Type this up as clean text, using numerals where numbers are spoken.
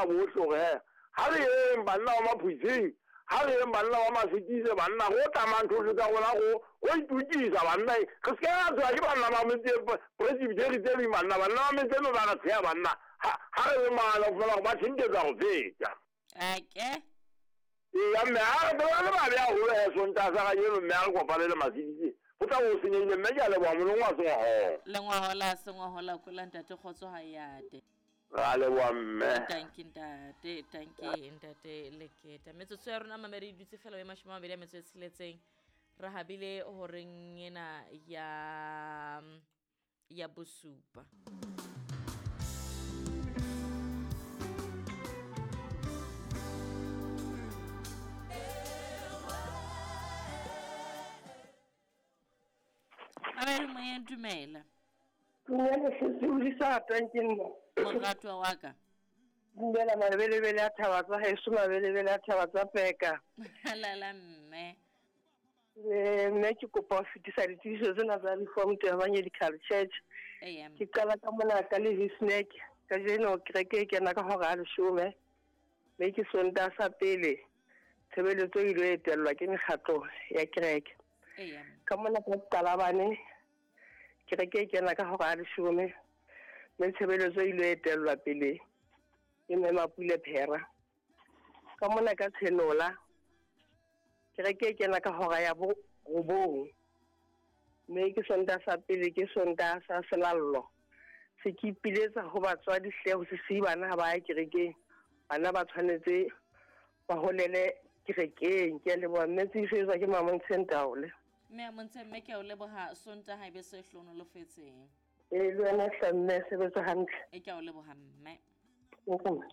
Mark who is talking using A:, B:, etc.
A: banna bohle gore he ga re yeng banna ba maphutseng ga re yeng banna ba masekise banna go tlamang thohle tsa rona go go itukisa banna re se ke ra tswa ke banna ba metse presbytery tse ding banna banna ba metse me ba re tsheya banna ga re le maala go fela go ba tšhentšetsa go feta
B: ake
A: eya mme a re ba le babe haholo he sontaga sa kajeno mme a re kopane le maseditse go tla bo senyehile mme ke a leboga molong wa sengwagola
B: lengwagola sengwagola kola ntate kgotso ga yate
A: ra leboga mme
B: tanki ntate tanki ntate leketa metsotso ya rona mamedi e dutse fela e mashome a mabedi a metso e tsheletseng re habile horeng ena ya ya bosupa mamedi moyeng dumela
C: Dumela sesi o disa ratwang ke nna.
B: Moratwa wa ka.
C: Dumela mabelebele a thaba tsa heso mabelebele a thaba tsa peka.
B: Lala mme.
C: Eh, mme ke kopa ho fetisa ditsebiso tsena tsa Reformed Evangelical Church. Ke qala ka mona ka le Hisnek. Kajeno kereke e kena ka hora ya leshome. Mme ke Sontaha sa pele tshebeletso e ile etellwa ke mekgatlo ya kereke. Ka mona ka Qalabane kereke e kena ka hora ya leshome mme tshebeletso e ile etellwa pele ke mme Mapule Phera. Ka mona ka Tshenola kereke e kena ka hora ya borobong mme ke Sontaha sa pele ke Sontaha sa selallo. Se ke ipiletsa ho batswadi hle ho se siye bana ha ba ya kerekeng. Bana ba tshwanetse ba holele kerekeng. Ke a leboha mme tsebiso e tswa ke Mamontshe Ntaole.
B: Mme a Montshe mme ke a o leboha Sontaha e be se hlohonolofetseng.
C: Ee le wena hle mme sebetsa hantle.
B: E ke a o leboha mme.
C: Welcome.